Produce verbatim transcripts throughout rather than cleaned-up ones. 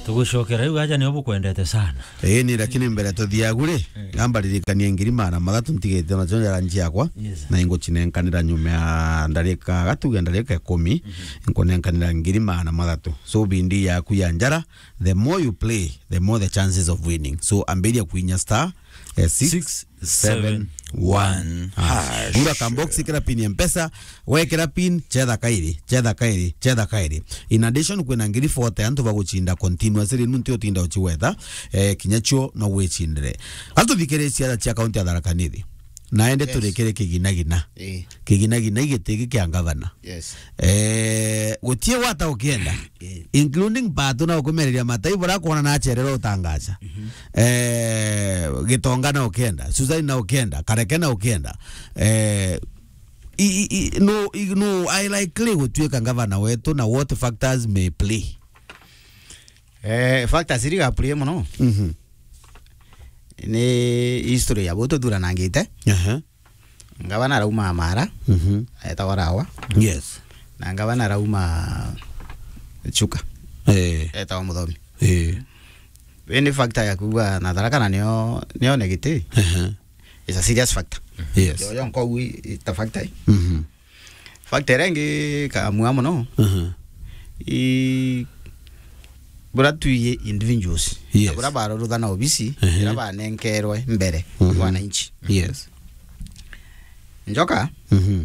Tugucokera riu aja nio bukwendete sana. Ii, ni lakini mbere tuthiagu ri, mm, amba ririkania ngiri magana mathatu ntigite nacio njara nji yakwa, yes, na ingucinenkanira nyuma ya ndarika, gatuge ndarika ikumi, mhm, nkunenkanira ngiri magana mathatu. So, bindi yaku ya njara, the more you play, the more the chances of winning. So, ambiria kuinya star, eh, six seven one hash. Gura kambox, ikira pin ya Mpesa, wekira pin, chetha kairi, chetha kairi, chetha kairi. In addition, kwina ngiri forty antu bagucinda continuously, nuntu utinda ucigweta, eh, kinya cio no gwicindire. Antu thikiricia cia kaunti ya Tharaka Nithi. Naende, yes, turikire kiginagina. Eh. Kiginagina igiti giki kia ngavana. Yes. Eh, gutie gwata ukienda. Eh. Including Pato na ukumereria matai bura kuona na acherera utangaca. Mhm. Eh, Gitonga na ukienda, Susan na ukienda, Kareke na ukienda. Eh, i, i, i, no, i, no, I likely gutuika ngavana wetu na what factors may play. Eh, factors iri ga play muno. Mhm. Ni history ya butu thuranangite. Aha. Ngavana arauma Mara, mhm, etagwa Rawa. Yes. Na ngavana arauma Chuka. Eh. Etagwa Muthomi. Eh. Indi factor ya kuuga na Tharaka na nio, nio negative. Aha. It's a serious factor. Yes. Yo, yo, nkogu i-, ita factor i. Mhm. Factor iria ingi kamua muno, mhm, i bura twi individuals. Yes. Na bura baruruthana obisi, mhm, ira banenkerwe mbere, mhm, wananchi. Yes. Njoka, mhm,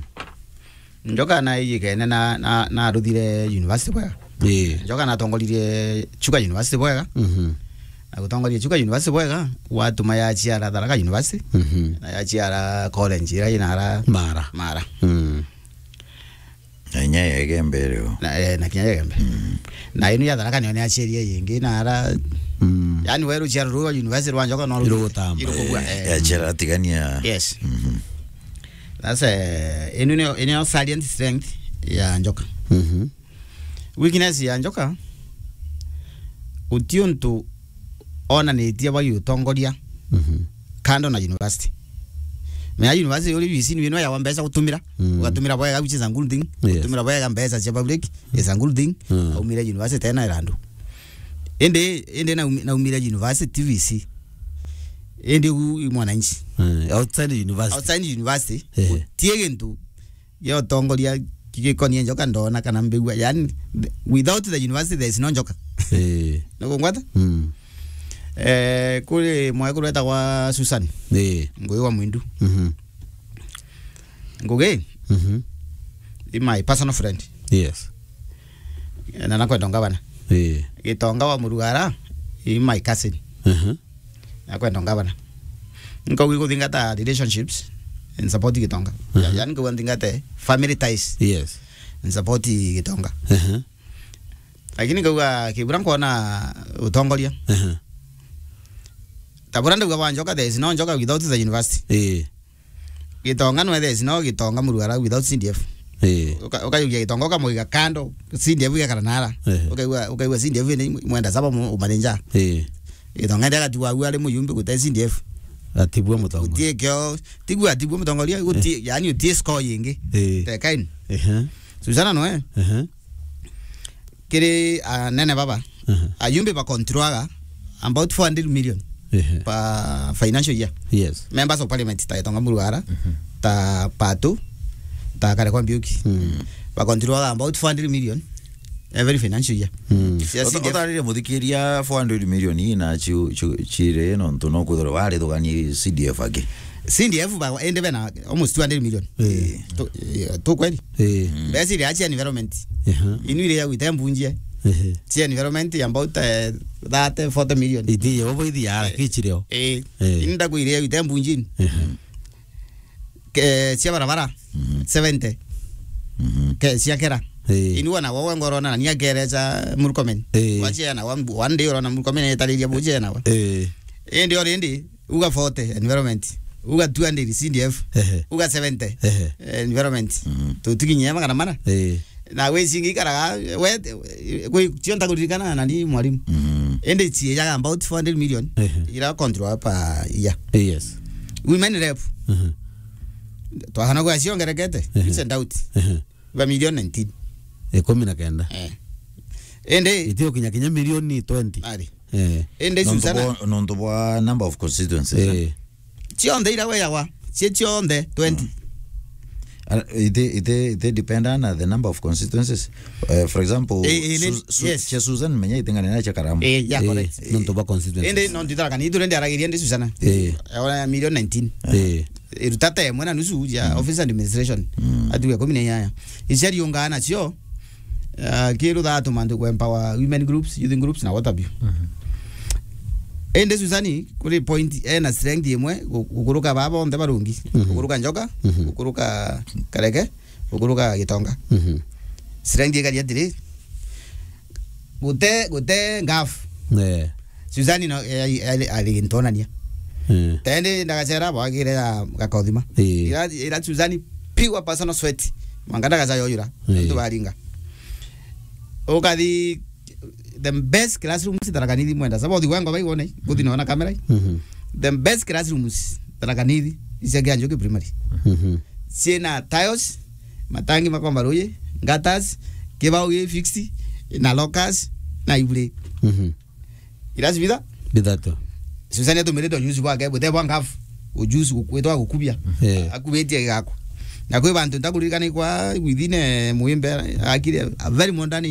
Njoka na iyikene na, na, na aruthire university bwega. Ii. Njoka na atongoririe Chuka University bwega. Mhm. Na gutongoria Chuka University bwega, watuma yaciara Tharaka University. Mhm. Na yaciara college ira inara Mara. Mara. Mm. Na inya ya Igembe rio. Na, eh, na kinya ya Igembe. Mm. Na inu ya Tharaka nio niaciarie yingi na ara. Mm. Yani, we ruciaro ruu rwa university rwa Njoka no ru-, irugutamba, irugubua, eh, eh. Yaciara atigania. Yes. Mhm. Sasa, eh, inu nio, inu nio salient strength ya Njoka. Mhm. Weakness ya Njoka, guti untu onanitie bwa giutongoria, mhm, kando na university. Menya university uri V C ni wino ya mbeca gutumira, mm, ugatumira bwega, which is a good thing. Yes. Gutumira bwega mbeca cia public is a good thing. Mm. Aumire university tena irandu. Indi, indi naumi-, naumire university V C. Indi u, i mwananchi. Mm. Outside university. Outside university. Ehe. Gutie gintu gia utongoria kigikonie Njoka ndona kana mbigua. Yani, th-, without the university, there is no Njoka. Eh. Nukungwata? Mm. Eh, kuri mwekuru etagwa Susan. Eh. Ngugi wa Mwindu. Mhm. Ngugi, mhm, i my personal friend. Yes. Na nakwenda ngavana. Eh. Gitonga wa Murugara, i my cousin. Mhm. Nakwenda ngavana. Nkauga iguthingata relationships in support Gitonga. Mhm. Ya-, yani nkauga nthingate family ties. Yes. In support Gitonga. Mhm. Lakini nkauga kibura nkwona utongoria. Mhm. Ta bura ndauga bwa Njoka, there is no Njoka without the university. Eh. Gitonga nwe there is no Gitonga Murugara without C D F. Eh. Uka-, ukayukia Gitonga ukamuiga kando, C D F igekara nara. Eh. Ukaigua, ukaigua C D F ni mwenda saba mu-, umarinja. Eh. Gitonga ndi agatigwa au ari muyumbi gute C D F. Atibua mutongoria. Utie kio, tigua atibua mutongoria, utie, eh, yani utie score yingi. Eh. Tekaini. Ehe. Susana noe. Ehe. Kiri anene baba. Ehe. Ayumbi ba controlaga about four hundred million, ehe, per financial year. Yes. Members of parliament, ta Gitonga Murugara, mhm, ta Patu, ta Kareke Mbiuki. Mm. Ba controlaga about four hundred million every financial year. Mm. Cia C D F. Uta-, utaririe muthikiria four hundred million ii na ciu-, ciu-, cire nontu no kwithirwa warithugania C D F aki. C D F ba, indi bena almost two hundred million. Eh. Tu, eh, tu kweli? Eh. Mm. Mbeca iria cia environment. Ehe. Inu iria gwite mbunjie. Ehe. Cia environment about, eh, thirty, forty million. Iti yo bo ithi ya, eh, kichireo. Eh. Eh. Inda kuiria gwite mbunjini. Ehe. Ke, cia barabara, mhm, seventy. Mhm. Ke, cia kera. Eh. Ini wana wawe ngoro na nia kerecha Murkomen. Eh. Wache na one day oro na Murkomen etariria buche na wa. Eh. Indi already, uga forty environment. Uga two hundred C D F. Ehe. Uga seventy, ehe, environment. Mhm. Tutikinyia magana mana. Eh. Na we cingi karaga, we, kwi cionta kuririkana na ni mwalimu. Mhm. Indi ciijaga about four hundred million, ehe, ira control per year. Yes. Women rep. Mhm. Twahana gwa ciongerekete, ehe, it's a doubt. Ehe. Ba million nineteen. Ikumi na kenda. Eh. Indi itio kinya kinya milioni twenty. Ari. Eh. Indi nontu Susana bwa, nontu bwa number of constituencies, eh? Eh. Cionthe ira weyagwa, cie cionthe twenty. Uh, it, it, it depend on the number of constituencies. Uh, for example, eh, eh, Sus-, Su-, yes. Cia Susan menya itengane na cia Karamu. Eh, yeah, eh, correct. Nontu bwa constituencies. Indi no nditharaka ni ithure ndiaragiria ndi Susana. Eh. Ona milioni nineteen. Eh. Iruta ta imwe na nusu ya office administration. Mm. Atuge kumi na inyanya. Icia riungaa nacio, ah, kiruthaa tumantu ku empower women groups, youth groups na what have you. Mhm. Indi Susani, kuri point, ena strength imwe, gu-, gukuruka baba bonthe barungi. Mhm. Gukuruka Njoka, mhm, gukuruka Kareke, gukuruka Gitonga. Mhm. Strength ikari atiri, gute, gute ngafu. Eh. Susani no, eh, eh, ari gintonania. Eh. Tende ndagacera bwagire ya gakothima. Eh. Ira, ira Susani pure personal sweat. Manga ndagaca yoyura. Eh. Antu baringa. Ukathi the best classrooms Tharaka Nithi mwenda. Sabo thi wengo bai wone. Kuthi nona kamera. Mhm. The best classrooms Tharaka Nithi. Isia kia Njoki Primary. Mhm. Ciena tiles, matangi makomba ruyi, gutters, kibao gi fixed, na lockers, na ibure. Mhm. Ira cibitha? Bithatu. Susani atumirite ujuzi bwake, bute bwa ngafu. Ujuzi gukwitwa gukubia. Eh. Akubitie gigakwa. Na kwi bantu ntakuririkana kwa within, eh, Muimbe akire a very modern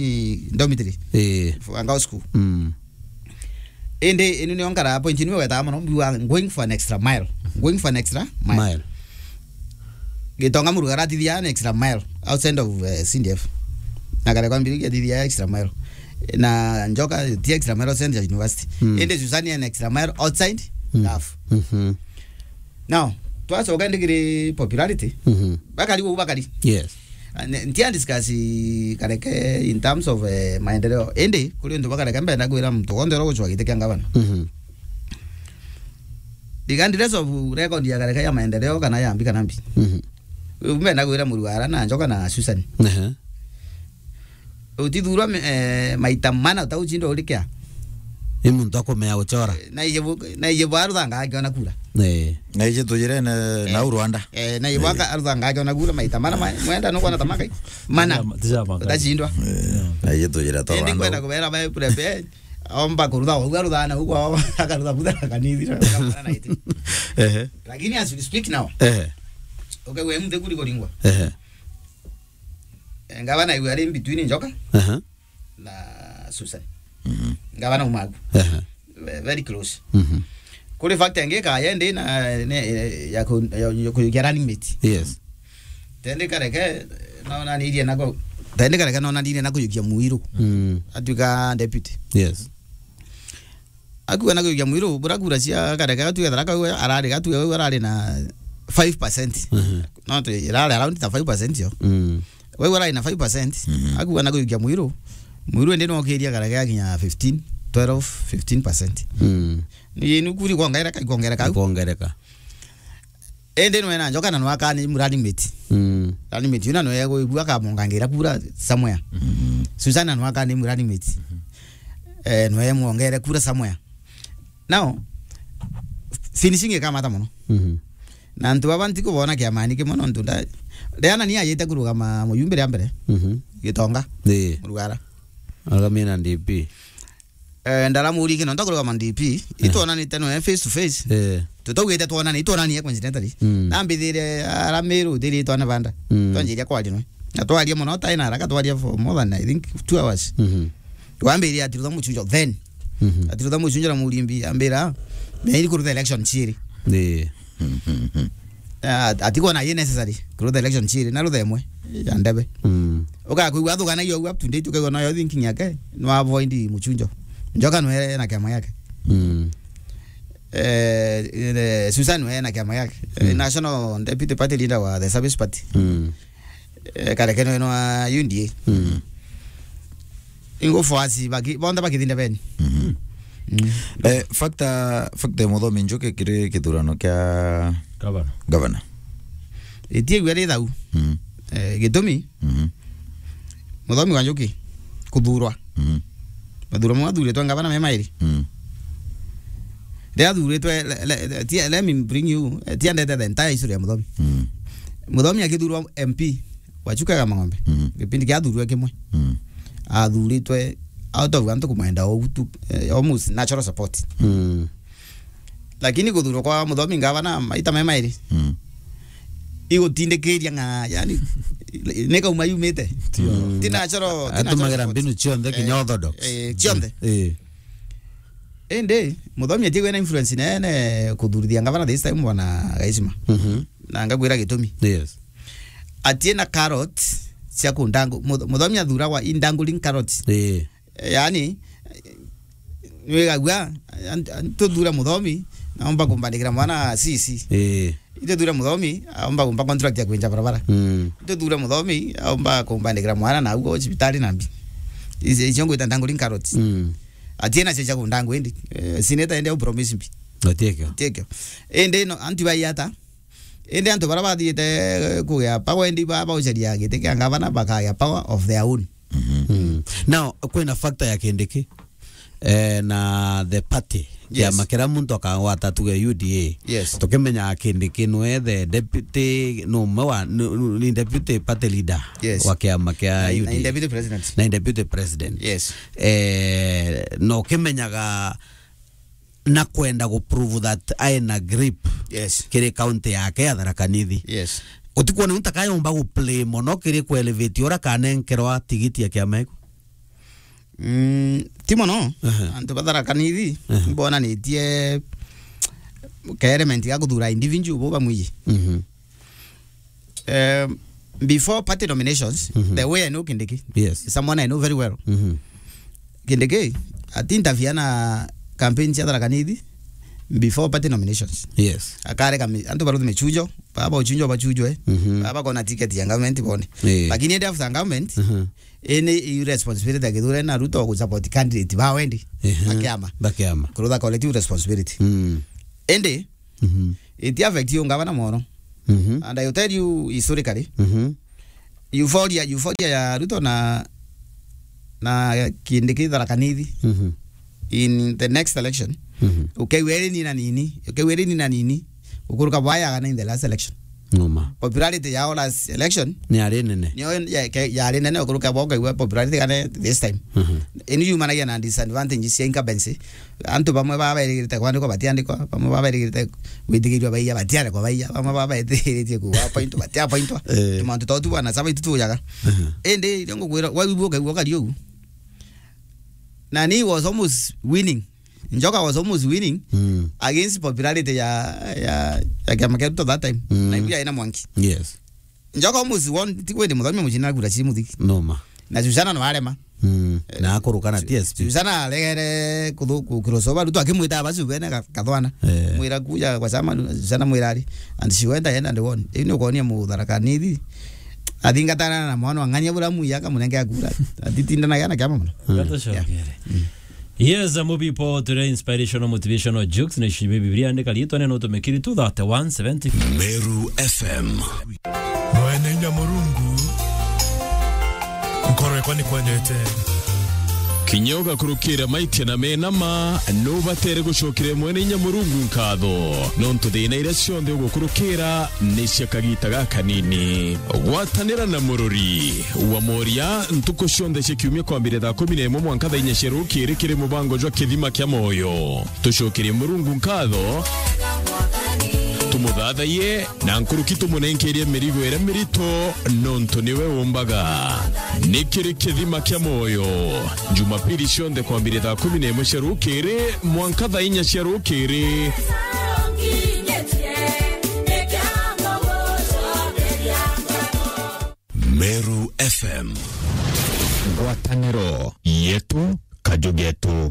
dormitory. Eh. For a girls school. Mm. Indi inu niyo nkara point niyo wetaga mono, mbiwa going for an extra mile. Going for an extra mile. Mile. Gitonga Murugara atithia an extra mile outside of, eh, C D F. Na Kareke Mbirigi atithia extra mile. Na Njoka ti extra mile outside ya university. Mm. Indi Susani an extra mile outside, mm, ngafu. Mhm. Now, twacoka ndi kiri popularity. Mhm. Bakari uu bakari. Yes. Ah, ne-, ntia discuss Kareke in terms of, eh, maendeleo. Indi, kuri untu bwa Kareke mbenda kwira muntu wonthe uria ugucwa giti kia ngavana. Mhm. Regardless of record ya Kareke ya maendeleo kana ya mbi kana mbi. Mhm. Mbenda kwira Murugara na Njoka na Susan. Ehe. Utithurwa me-, eh, maita mana utaucindwa urikia. Ni muntu akumea gucora. Na iye bu-, na iye bwa ruthanga akiona kura. Eh. Na ije tujire na, eh, nau Rwanda. Eh, na iye bwa ka-, ruthanga akiona kura maita mana ma-, mwenda nukwona ta makai. Mana. Tija, tija makai. Utacindwa. Eh, na ije tujire to Rwanda. Indi kwenda kubera ba prepare. Omba kurutha, uga ruthana, uga akarutha butha kanithira. Ehe. Lakini as we speak now. Ehe. Okay, we mte kuri kuringwa. Ehe. Eh, ngavana iwe ari in between Njoka, aha, na Susan. Mhm. Ngavana Umagu. Aha. Ve-, very close. Mhm. Kuri fact angi ka yende na, ne, ya ku-, ya, ya kujukia running mate. Yes. Tende Kareke, nona nirie nako. Tende Kareke nona nirie na kujukia Muiru. Mm. Atuika deputy. Yes. Akua na kujukia Muiru, bura kura cia Kareke, atuika Tharaka, arari, atuika arari na five percent. Mhm. No, tu-, irari around ta five percent yo. Mm. Wau arai na five percent, mhm, akua na kujukia Muiru. Muiru indi no kiria Kareke akinya fifteen, twelve, fifteen percent. Mm. Ni nu kuri kwongereka, ikwongereka au. Ikwongereka. Indi nwe na Njoka na nwakani mu running mate. Mm. Running mate, yuna nwe gwibua kamongangira kura somewhere. Mm. Susana nwakani mu running mate. Eh, nwe mwongere kura somewhere. Now, finishing ikamata mono. Mhm. Na antu baba ntikubona kiamani kimwe nontu nda-, Diana ni ayite kurugama muyumbi ria mbere. Mhm. Gitonga. Ii. Murugara. Arugamie na D P. Eh, ndaramuri kino ntakurugama D P. Eh. Itwonanite noe face to face. Eh. Tutaugite twonane, itwonanie coincidentally. Mm. Nambithire ara Meru, thiri itwana banda. Mm. Twanjiria kwaria noe. Na twaria mono, tai na haraka, twaria for more than, I think, two hours. Mhm. Wambire ati rutha muchunjo then. Mhm. Ati rutha muchunjo na murimbi, ambira, "Meri kurutha election chiri." Ii. Ah, ati kona ye necessary kurutha election chiri, na rutha imwe ya ndebe. Mm. Ukakwigua athuganagia uguo up to date, ukaigua nayo thinking yake, no avoid muchunjo. Njoka no ena kiama yake. Mm. Eh, eh, Susan no ena kiama yake. Eh, mm, National Deputy Party Leader wa the Service Party. Mm. Eh, Kareke no eno wa U D A. Mm. Ingo fuasi baki, bonde bakithinda beni. Mhm. Mm. Eh, factor, factor ya Muthomi Njuki kiri kithurano kia gavana. Gavana. Itie gwa ri thau. Mm. Eh, gitumi. Mhm. Muthomi wa Njuki kuthurwa. Mhm. Mathurano mau athuritwe ngavana me mairi. Mm. Riria athuritwe, le-, le-, le-, tia-, let me bring you, eh, tia ndete the entire history ya Muthomi. Mm. Muthomi akithurwa M P wa Chuka ya Mang'ombe. Mm. Gipindi kia athurwe kimwe. Mm. Athuritwe out of antu kumwenda ou tu, eh, almost natural support. Mm. Lakini kuthurwa kwa Muthomi ngavana maita me mairi, mm, igutindikiria ng'a, yani, ni kauma yumite. Tio. Mm. Ti natural, ti natural support. Atumagira mbinu cionthe kinya, eh, orthodox, eh, cionthe. Eh. Indi, Muthomi atigwe na influence nene kuthurithia ngavana this time, bwana Gaisima. Mhm. Na ngakwira gitumi. Yes. Atie na carrot cia kundangu-, Mutho-, Muthomi athuragwa indangling carrot. Eh. Yani, wigagua, an-, an-, tuthure Muthomi, naomba kumbandikira mwana C C. Eh. Ituthure Muthomi, aomba kumpa contract ya kwenja barabara. Mm. Ituthure Muthomi, aomba kumbandikira mwana na ugo cibitari na mbi. Ici, icio ngwita ndangling carrots. Mm. Atie nacio cia kundangu indi. Eh, sineta ende au promise mbi. Atiekio. Atiekio. Indi no, antu baiata. Indi antu bara bathiite, eh, kugia power indi ba, baucaria giti kia ngavana bakagia power of their own. Mhm. Mm. Now, kwina factor ya Kindiki, eh, na the party. Yes. Kiama kiria muntu akagwata tuge U D A. Yes. Tukimenya Kindiki nwe the deputy, no umwe wa, ni, ni deputy party leader, yes, wa kiama kia, na, U D A. Na deputy president. Na deputy president. Yes. Eh, no kimenyaga na kwenda gu prove that aina grip, yes, kiri county yake ya Tharaka Nithi. Yes. Utikwona untu akayomba gu play mono kiri ku elevate ura kanenkerwa tigiti ya kiama iku? Mm, ti mono. Aha. Antu ba Tharaka Nithi, aha, mbonanitie ka element ga kuthura individual bo bamwiji. Mhm. Um, before party nominations, mhm, the way I know Kindiki, yes, is someone I know very well. Mhm. Kindiki ati interfere na campaign cia Tharaka Nithi before party nominations. Yes. Akareka mi-, antu baruthi michujo, baba uchunjo bachujwe, mhm, baba kona ticket ya government bone. Eh. Lakini ende after government, mhm, ene i responsibility ya Kithure na Ruto ku support candidate ba wendi. Ehe. Bakiama. Bakiama. Kurutha collective responsibility. Mm. Ende, mhm, it affect you ngavana mono. Mhm. And I will tell you historically, mhm, euphoria, euphoria ya Ruto na, na Kindiki Tharaka Nithi, mhm, in the next election, mhm, ukeigua iri nini na nini, ukeigua iri nini na nini, ukuruka bwaya kana in the last election. Noma. Popularity yao last election ni yari nene. Niyo ya-, ke-, yari nene ukuruka bwa ukaigua popularity kana this time. Mhm. Ini yumanagia na disadvantage cia incumbency. Antu bamwe baba bairigirite kwandikwa batiandikwa, bamwe baba bairigirite gwitigirwa baiya batiandikwa baiya, bamwe baba bairigirite kuwa appointwa batiappointwa. Eh. Tumantu twa tu bwana saba itu tujaga. Mhm. Indi irio ngukwira, waigua ukaigua ukari ugu. Na ni was almost winning. Njoka was almost winning, mm, against popularity ya, ya, ya kiama kia Ruto that time. Mm. Na ibu yaina Mwangi. Yes. Njoka almost won, ti kwende Muthomi mucina kura ci muthiki. Noma. Na Susana no arema. Mm. Eh, na akuruka na T S P. Susana aregere kuthu-, ku-, crossover, Ruto akimwita abacu bene ka-, kathwana. Eh. Mwira kuja kwa chama, Susana mwira ari. And she went ahead and won. Ini ukonia Mutharaka Nithi. Athingatana na mwana wa ng'ania bura muya akamunenge akura. Atitindanagia na kiama mono. Mm. Gatucokere. Yeah. Mm. Yes, a movie po turi inspirational, motivational jokes na shibe Biblia andika litwa neno tumekiri two thirty-one seventy. Meru F M. Mwene inya Murungu, nkoro yakwa ni kwendete. Kinya ugakurukira maitia na mena ma, nubatere gucokera Mwene inya Murungu nkatho. Nontu thina iria cionthe ugukurukira ni cia kagita gakanini. Gwatanira na murori wa moria ntuku cionthe cia kiumia kwambire thaa kumi na imwe mwanka thaa inya cia rukiri kiri mubango jwa Kithima kia Moyo. Tucokerie Murungu nkatho, tumuthathaiye, na nkuruki tumunenkerie mirigo iria mirito, nontu niwe umbaga. Ni kiri Kithima kia Moyo, Jumapili cionthe kwambire thaa kumi na imwe cia rukiri mwanka thaa inya cia rukiri. Meru F M. Ngwataniro yetu, kaju getu.